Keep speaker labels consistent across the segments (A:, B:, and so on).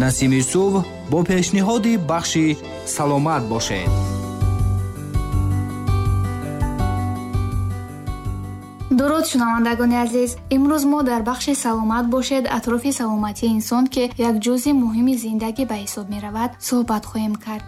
A: Насими субҳ бо пешниҳоди бахши саломат бошед.
B: Дуруд шунавандагони азиз, имрӯз мо дар бахши саломат бошед атрофи саломатии инсон, ки як ҷузъи муҳими зиндагӣ ба ҳисоб меравад, суҳбат хоҳем кард.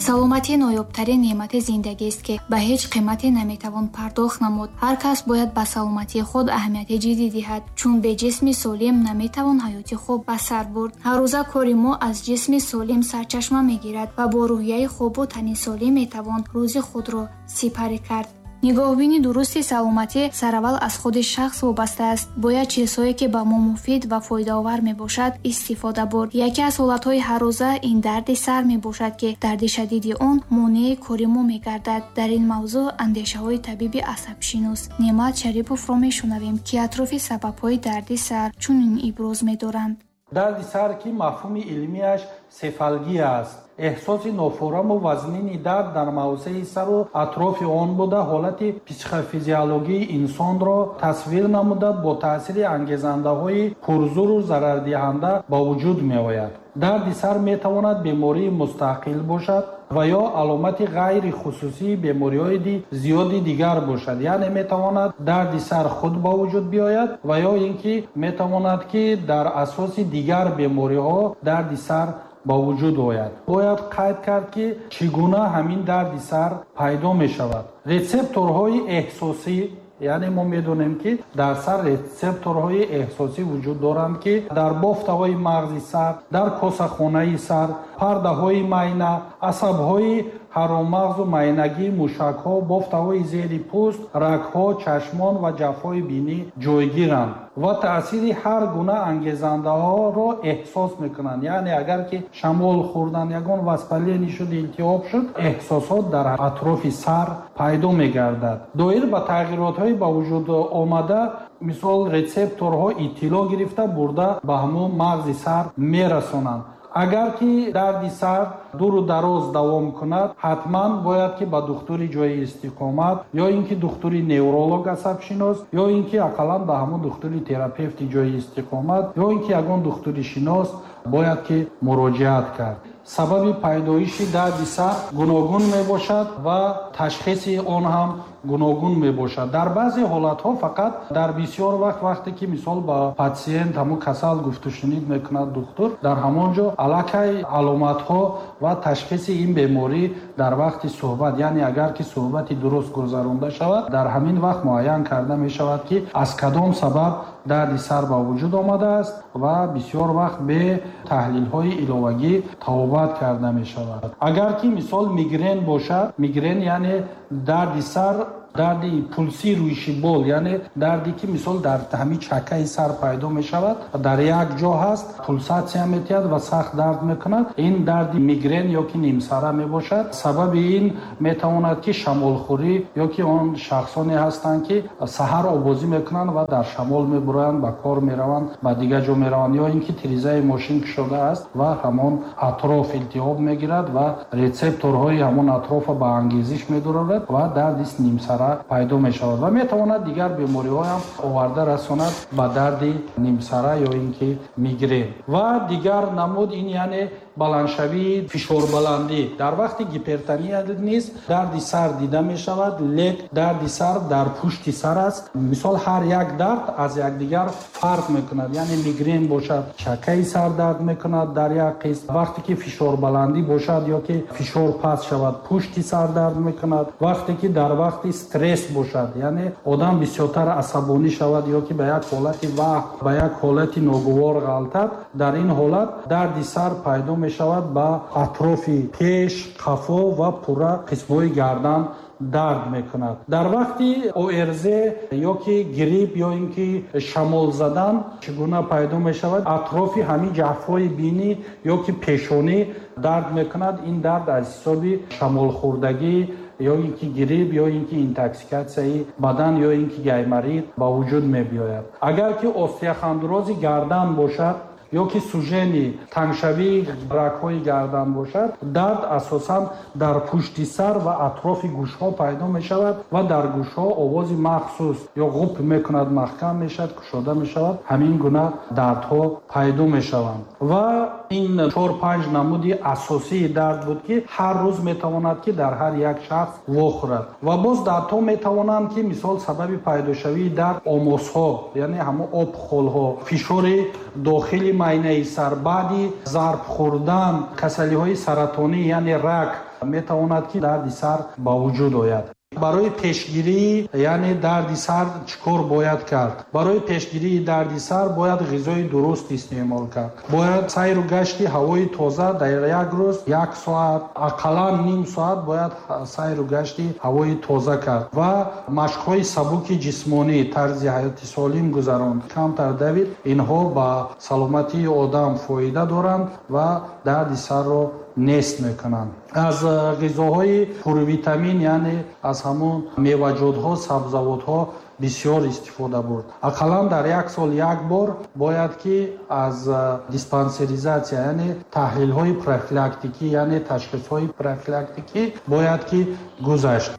B: Саломатӣ ноёбтарин неъмати зиндагист, ки ба ҳеҷ қимате наметавон пардохт намуд. Ҳар кас бояд ба саломатии худ аҳамияти ҷиддӣ диҳад, чун бе ҷисми солим наметавон ҳаёти хуб ба сар бурд. Ҳаррӯза кори мо аз ҷисми солим сарчашма мегирад ва бо рӯҳияи хубу тани солим метавон рӯзи худро сипарӣ кард. Нигоҳбини дурусти саломатӣ сараввал аз худи шахс вобаста аст. Бояд чизҳое, ки ба мо муфид ва фоидаовар мебошад, истифода бурд. Яке аз ҳолатҳои ҳаррӯза ин дарди сар мебошад, ки дарди шадиди он монеи кори мо мегардад. Дар ин мавзӯъ андешаҳои табиби асабшинос Неъмат Шариповро мешунавем, ки атрофи сабабҳои дарди сар чунин иброз медоранд.
C: Дарди сар, ки мафҳуми илмиаш сефалгия аст, эҳсоси нофораму вазнини дард дар мавзеи сару атрофи он буда, ҳолати психофизиологии инсонро тасвир намуда, бо таъсири ангезандаҳои пурзуру зарардиҳанда ба вуҷуд меояд. Дарди сар метавонад бемории мустақил бошад ва ё аломати ғайрихусусии бемориҳои зиёди дигар бошад. Яъне метавонад дарди сар худ ба вуҷуд биёяд ва ё ин ки метавонад, ки дар асоси дигар бемориҳо дарди сар ба вуҷуд ояд. Бояд қайд кард, ки чӣ гуна ҳамин дарди сар пайдо мешавад. Рецепторҳои эҳсосӣ, яъне мо медонем, ки дар сар рецепторҳои эҳсосӣ вуҷуд доранд, ки дар бофтаҳои мағзи сар, дар косахонаи сар, пардаҳои майна, асабҳои ҳароммағзу майнагӣ, мушакҳо, бофтаҳои зери пӯст, рагҳо, чашмон ва ҷафҳои бинӣ ҷойгиранд ва таъсири ҳар гуна ангезандаҳоро эҳсос мекунанд. Яъне агар ки шамол хӯрдан, ягон воспаление шуд, илтиҳоб шуд, эҳсосот дар атрофи сар пайдо мегардад. Доир ба тағйиротҳои ба вуҷуд омада, мисол рецепторҳо иттилоъ гирифта бурда ба ҳамон мағзи сар мерасонанд. Агар ки дарди сар дуру дароз давом кунад, ҳатман бояд ки ба духтури ҷои истиқомат ё ин ки духтури невролог асабшинос ё ин ки ақаллан ба ҳамон духтури терапевти ҷои истиқомат ё ин ки ягон духтури шинос бояд ки муроҷиат кард. Сабаби пайдоиши дарди сар гуногун мебошад ва ташхиси он ҳам гуногун мебошад. Дар баъзе ҳолатҳо фақат дар бисёр вақт, вақте ки мисол ба патсиент ҳамон касал гуфтушунид мекунад духтур, дар ҳамон ҷо аллакай аломатҳо ва ташхиси ин беморӣ дар вақти суҳбат, яъне агар ки суҳбати дуруст гузаронда шавад, дар ҳамин вақт муайян карда мешавад, ки аз кадом сабаб дарди сар ба вуҷуд омадааст ва бисёр вақт бе таҳлилҳои иловагӣ табобат карда мешавад. Агар ки мисол мигрен бошад, мигрен яъне дарди сар, дарди пулси рӯйшибол, яъне дарде ки мисол дар ҳамин чакаи сар пайдо мешавад, дар як ҷо ҳаст, пулсатсия метиҳад ва сахт дард мекунад. Ин дарди мигрен ё ки нимсара мебошад. Сабаби ин метавонад ки шамолхӯрӣ ё ки он шахсоне ҳастанд, ки саҳар обозӣ мекунанд ва дар шамол мебуроянд, ба кор мераванд, ба дигар ҷо мераванд, ё ин ки тирезаи мошин кушода аст ва ҳамон атроф илтиҳоб мегирад ва рецепторҳои ҳамон атрофа ба ангезиш медорад ва дарди нимсара пайдо мешавад ва метавонад дигар бемориҳоям оварда расонад ба дарди нимсара ё ин ки мигрен. Ва дигар намуд ин яъне баландшавии фишорбаландӣ. Дар вақти гипертония низ дарди сар дида мешавад, лек дарди сар дар пушти сар аст. Мисол ҳар як дард аз якдигар фарқ мекунад, яъне мигрен бошад, чакаи сар дард мекунад дар як қисм, вақте ки фишорбаландӣ бошад ё ки фишор паст шавад, пушти сар дард мекунад. Вақте ки дар вақти стресс бошад, яъне одам бисёртар асабонӣ шавад ё ки ба як ҳолати ваҳм, ба як ҳолати ногувор ғалтад, дар ин ҳолат дарди сар пайдо мешавад, ба атрофи пеш, қафо ва пурра қисмҳои гардан дард мекунад. Дар вақти ОРЗ ё ки грипп ё ин ки шамол задан чӣ гуна пайдо мешавад? Атрофи ҳамин ҷафҳои бинӣ ё ки пешонӣ дард мекунад. Ин дард аз ҳисоби шамолхӯрдагӣ ё ин ки грипп ё ин ки интоксикатсияи бадан ё ин ки гайморит ба вуҷуд мебиёяд. Агар ки остеохондрози гардан бошад, Ё ки сужени тангшавии рагҳои гардан бошад, дард асосан дар пушти сар ва атрофи гӯшҳо пайдо мешавад ва дар гӯшҳо овози махсус ё ғуп мекунад, маҳкам мешавад, кушода мешавад. Ҳамин гуна дардҳо пайдо мешаванд. Ва ин 4-5 намуди асосии дард буд, ки ҳар рӯз метавонад, ки дар ҳар як шахс вохӯрад. Ва боз дардҳо метавонанд, ки мисол сабаби пайдошавии дард омосҳо, яъне ҳамон обхолҳо, фишори дохили майнаи сар, баъди зарб хӯрдан, касалиҳои саратонӣ, яъне рак метавонад, ки дарди сар ба вуҷуд ояд. Барои пешгирии, яъне дарди сар чӣ кор бояд кард? Барои пешгирии дарди сар бояд ғизои дуруст истеъмол кард. Бояд сайру гашти ҳавои тоза дар як рӯз як соат, ақаллан ним соат бояд сайру гашти ҳавои тоза кард ва машқҳои сабуки ҷисмонӣ, тарзи ҳаёти солим гузаронд, камтар давид. Инҳо ба саломатии одам фоида доранд ва дарди сарро нест мекунанд. Аз ғизоҳои пурвитамин, яъне аз ҳамон меваҷотҳо, сабзавотҳо бисёр истифода бурд. Ақаллан дар як сол як бор бояд, ки аз диспансеризатсия, яъне таҳлилҳои профилактикӣ, яъне ташхисҳои профилактикӣ бояд, ки гузашт.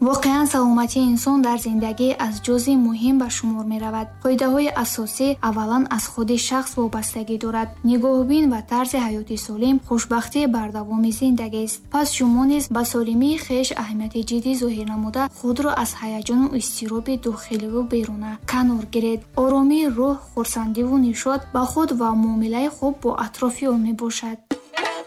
B: Воқеан саломатии инсон дар зиндагӣ аз ҷузъи муҳим ба шумор меравад. Қоидаҳои асосӣ аввалан аз худи шахс вобастагӣ дорад. Нигоҳубин ва тарзи ҳаёти солим хушбахтии бардавоми зиндагист. Пас шумо низ ба солимии хеш аҳамияти ҷиддӣ зоҳир намуда, худро аз ҳаяҷону изтироби дохиливу беруна канор гиред. Оромии рӯҳ, хурсандиву нишот ба худ ва муомилаи хуб бо атрофиён мебошад.